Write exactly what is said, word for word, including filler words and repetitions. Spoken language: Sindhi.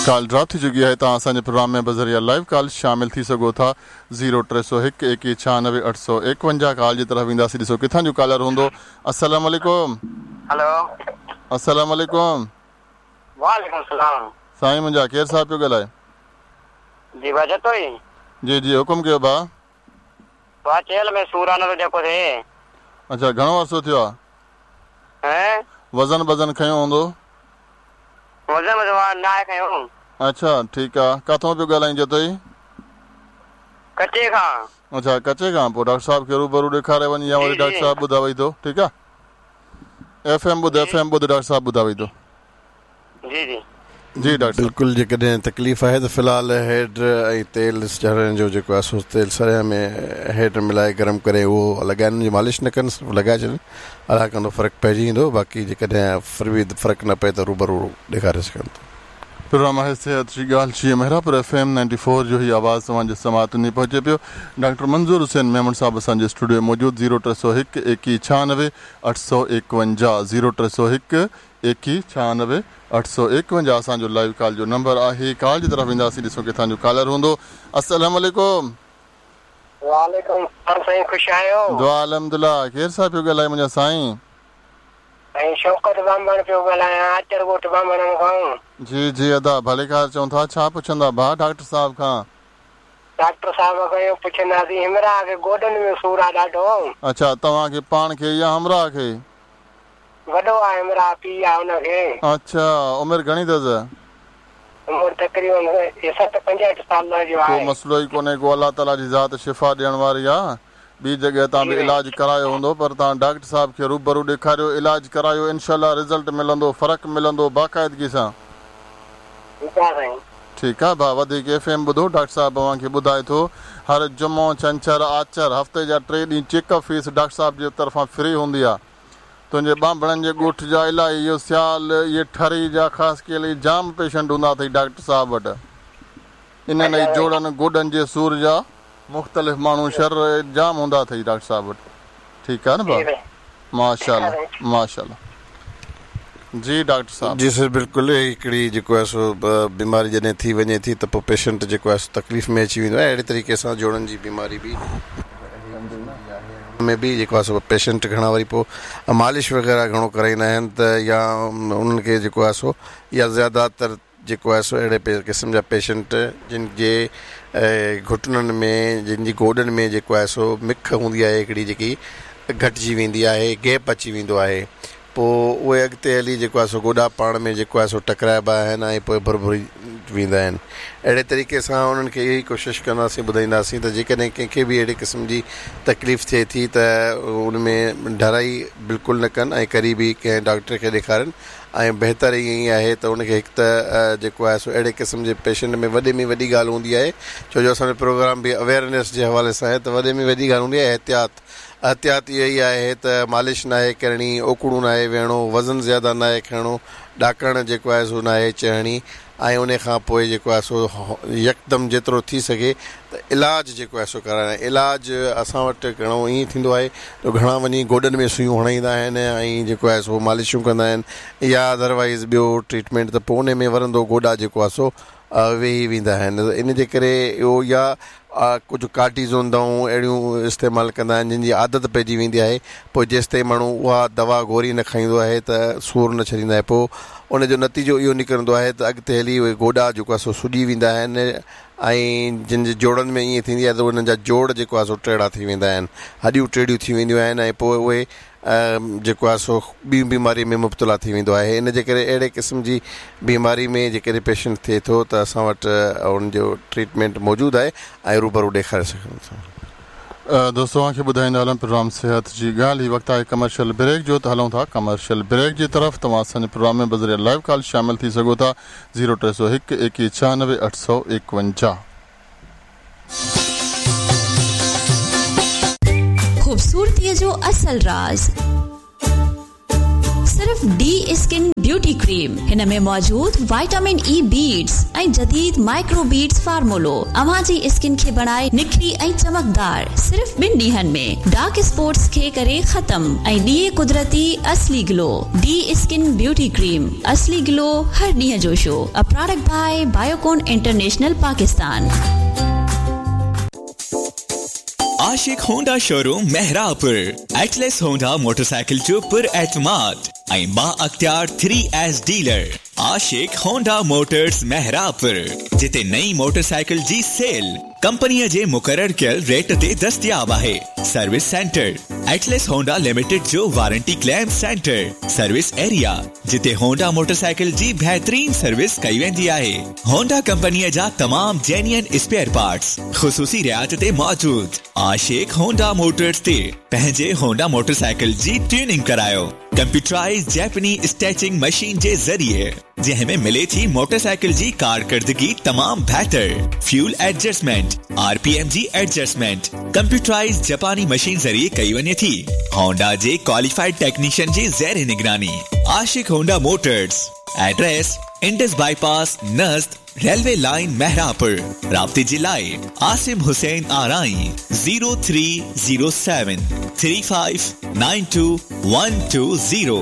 ڪال ڊراپ ٿي چڪي آهي. توهان اسان جي پروگرام ۾ بذريعا لائيو ڪال شامل ٿي سگهو ٿا. زيرو ٽي سؤ هڪ ايڪويهه ڇهانوي اٺ سؤ ايڪونجاهه. ڪال جي طرف وينداسين، ڏسو ڪٿان جو ڪالر هوندو. السلام عليڪم. هلو. السلام عليڪم. وعليڪم السلام. سائين منهنجا، ڪير صاحب پيو ڳالهائي؟ جي ڀاء، جتوئي. جي جي، حڪم ڪيو ڀاء. ڀاء، چيلهه ۾ سور آ نه جيڪو ٿئي. اڇا، گهڻو عرصو ٿيو آهي؟ هين؟ وزن وزن کنيو هوندو؟ وزن وزن نه آهي کنيو. اڇا، ٺيڪ آهي. ڪاٿون پيو ڳالهائين جتوئي؟ ڪچي کان. اڇا، ڪچي کان. پوءِ ڊاڪٽر صاحب کي روبرو ڏيکاري وڃ يا وري ڊاڪٽر صاحب ٻڌاوئي ٿو. ٺيڪ آهي، ايف ايم ٻڌ، ايف ايم ٻڌ، ڊاڪٽر صاحب ٻڌاوئي ٿو. جي جي. جي ڊاڪٽر. بلڪل، جيڪڏهن تڪليف آهي ته في الحال هيڊ ۽ تيل چڙهڻ جو جيڪو آهي سو تيل سريان ۾ هيڊ ملائي گرم ڪري اهو لڳائن جي مالش نه ڪن، صرف لڳائي ڇڏن، الله ڪندو فرق پئجي ويندو. باقي جيڪڏهن ڦر به فرق نه پئي ته روبرو ڏيکاري سگهن ٿا. پروگرام آهي صحت جي ڳالهه جي Mehrabpur F M ninety four جو هي آواز توهان جي سماعتن تائين پهچي پيو. ڊاڪٽر منظور حسين ميمڻ صاحب اسان جي اسٽوڊيو ۾ موجود. زيرو ٽي سؤ هڪ ايڪويهه ڇهانوي اٺ سؤ ايڪونجاهه، زيرو ٽي سؤ هڪ ايڪويهه ڇهانوي اٺ سؤ ايڪونجاهه اسان جو لائيو ڪال جو نمبر آهي. ڪال جي طرف وينداسين، ڏسو ڪٿان جو ڪالر هوندو. السلام عليڪم. وعليڪم السلام سائين، خوش آهيو؟ دعا الحمدلله. ڪير صاحب پيو ڳالهائي منهنجا سائين؟ سائين، شوڪت ٻانڀڻ پيو ڳالهايان، آچر ڳوٺ ٻانڀڻن کان. جي جي ادا، ڀليڪار چئون ٿا. ڇا پڇندا ڀاءُ ڊاڪٽر صاحب کان؟ ڊاڪٽر صاحب کان اهو پڇنداسين، همراهه کي گوڏن ۾ سور آهي ڏاڍو. اڇا، توهان کي پاڻ کي يا همراهه کي؟ وڏو آهي همراهه، پيءُ آهي هن کي. اڇا، عمر گهڻي اٿس؟ عمر تقريبن سٺ پنجهٺ سال جو ڪو آهي. مسئلو ئي ڪونهي ڪو، الله تعاليٰ جي ذات شفا ڏيڻ واري آهي. ٻي جڳهه تان به علاج ڪرايو هوندو، پر توهان ڊاڪٽر صاحب کي روبرو ڏيکاريو، علاج ڪرايو، انشاءالله رزلٽ ملندو، فرق ملندو باقاعدگي سان. ٺيڪ آهي سائين. ٺيڪ آهي ڀاءُ، وڌيڪ ايف ايم ٻڌو، ڊاڪٽر صاحب اوهان کي ٻڌائي ٿو. هر جمعو، ڇنڇر، آچر، هفتي جا ٽي ڏينهن چيڪ اپ فيس ڊاڪٽر صاحب جي طرفان فري هوندي آهي. تنهنجي ٻانڀڻن جي ڳوٺ جا الاهي اهو سيال، اهي ٺري جا خاص ڪيل جام پيشنٽ هوندا اٿئي ڊاڪٽر صاحب وٽ. انهن ئي جوڙن گوڏن جي سور جا مختلف ماڻهو شر جام هوندا اٿئي ڊاڪٽر صاحب وٽ. ٺيڪ آهي نه ڀاءُ؟ ماشاءالله ماشاءالله. جي ڊاڪٽر صاحب. جي سر، بلڪل. هڪڙي جيڪو آهي سو بيماري جڏهن ٿي وڃي ٿي ته پوءِ پيشنٽ جيڪو آهي سو تڪليف ۾ اچي ويندو آهي. اهڙي طريقي سان جوڙن جي بيماري به ۾ به جيڪو آهي سو پيشنٽ گهڻا وري پوءِ مالش وغيره گهڻو ڪرائيندا آهن ته يا انهن کي جيڪو آهي سو يا زياده تر جيڪو آهي سو اهڙي قسم جا پيشنٽ جن جي گهٽنن ۾، جن جي گوڏن ۾ جيڪو آهي سو مک هوندي آهي هڪڙي، جيڪي گهٽجي ويندي آهي، گيپ اچي ويندو آهي، پوءِ اهي اڳتي هلي جيڪو آهي سو گوڏا پاڻ ۾ جيڪو آهي سو ٽڪرائبا آهن ۽ پوءِ ڀرڀري ويندا آهن. اهڙي طريقي سان انهن کي اها ئي ڪوشش ڪنداسين، ٻڌائينداسين ته جيڪڏهن ڪنهن کي به اهڙي قسم جي تڪليف ٿئي ٿي ته ان ۾ ڍرائي بلڪل نه ڪن ۽ قريبي ڪنهن ڊاڪٽر کي ڏيکارن. ۽ بهتر ائين ئي آهي ته ان کي هڪ ته جيڪو آهي سو اهڙي قسم جي پيشنٽ ۾ وڏي ۾ وڏي ڳالهه هوندي آهي، ڇو جو اسان جو پروگرام به اويئرنيس جي حوالي سان آهي، ته وڏي ۾ وڏي ڳالهه هوندي آهي احتياط. احتياط اها ئي آهي ته مالش نه آهي ڪرڻي، اوڪڙو نه آهي ويهڻو، وزن زياده نه آهي کڻڻو، ڏاڪڻ جيڪو آهي سو نه آهي چڙهڻي، ۽ ان کان پوءِ جيڪو آهي سو يڪدم جيترو ٿي سگهي ته علاج جيڪو آهي سو ڪرائڻ. علاج اسان وٽ گهڻو ائين ٿيندو آهي ته گهڻا وڃي گوڏن ۾ سيون هڻائيندا آهن ۽ جيڪو آهي سو مالشون ڪندا آهن يا ادروائيز ٻيو ٽريٽمينٽ، ته پوءِ ان ۾ ورندو گوڏا جيڪو آهي سو ويهي ويندا آهن. ان جي ڪري اهو يا ڪجهه ڪارٽيزون دوائون اهڙيون استعمال ڪندا آهن جن جي عادت پئجي ويندي آهي، پوءِ جيس تائين ماڻهو اها دوا گوري نه کائيندو آهي ته سور نه ڇڏيندا آهي. پوءِ ان جو نتيجو اهو نڪرندو آهي ته اڳتي هلي اهي گوڏا جيڪو آهي سو سڄي ويندا آهن ۽ جن جي جوڙن ۾ ائين ٿيندي آهي ته انهن جا جوڙ جيڪو آهي سو ٽيڙا ٿي ويندا آهن، هڏيون ٽيڙيون ٿي وينديون آهن ۽ پوءِ اهي جيڪو آهي سو ٻي بيماري ۾ مبتلا ٿي ويندو آهي. ان جي ڪري اهڙي قسم جي بيماري ۾ جيڪڏهن پيشنٽ ٿئي ٿو ته اسان وٽ ان جو ٽريٽمينٽ موجود آهي ۽ روبرو ڏيکاري سگهون ٿا. دوستو، اوهان کي ٻڌائيندا هلون پروگرام صحت جي ڳالهه. هي وقت آهي ڪمرشل بريڪ جو، ته هلون ٿا ڪمرشل بريڪ جي طرف. توهان اسان جي پروگرام ۾ بذريعي لائيو ڪال شامل ٿي سگهو ٿا. زيرو ٽي سؤ هڪ ايڪويهه ڇهانوي اٺ سؤ ايڪونجاهه. خوبصورتيءَ جو اصل راز صرف ڊي اسڪن بيوٽي ڪريم. هن ۾ موجود وائٽامن اي بيڊز ۽ جديد مائڪرو بيڊز فارمولو اوهان جي اسڪن کي بڻائي نکري ۽ چمڪدار صرف ٻن ڏينهن ۾. ڊارڪ اسپاٽس کي ڪري ختم ۽ ڏئي قدرتي اصلي glow. The skin beauty cream, اصلي گلو هر ڏينهن جو show. A product by Biocon international Pakistan. Ashiq Honda showroom Mehrabpur Atlas Honda motorcycle جو پر اعتماد ۽ با اختيار three S dealer Ashiq Honda motors Mehrabpur, جتي نئين موٽرسائيڪل جي سيل ڪمپنيءَ جي مقرر ڪيل ريٽ تي دستياب آهي. Service centre Atlas Honda limited جو warranty claim centre service area, جتي هونڊا موٽرسائيڪل جي بهترين سروس ڪئي ويندي آهي. هونڊا ڪمپنيءَ جا تمام جينيئن اسپيئر پارٽس خصوصي رعايت تي موجود. عاشق هونڊا موٽرس تي پنهنجي هونڊا موٽرسائيڪل جي ٽيوننگ ڪرايو ڪمپيوٽرائز جاپاني اسٽيچنگ مشين جي ذريعي، جنهن ۾ ملي ٿي موٽرسائيڪل جي ڪارڪردگي تمام بهتر، fuel adjustment, R P M جي ايڊجسٽمينٽ ڪمپيوٽرائز جاپاني مشين ذريعي ڪئي وڃي ٿي. هونڊا جي ڪواليفائيڊ ٽيڪنيشن جي زير نگراني. Ashiq Honda motors, address Indus bypass نزد ريلوي لائن مهراپور. رابطي جي لاءِ Asim Hussain Arain zero three zero seven three five nine two one two zero.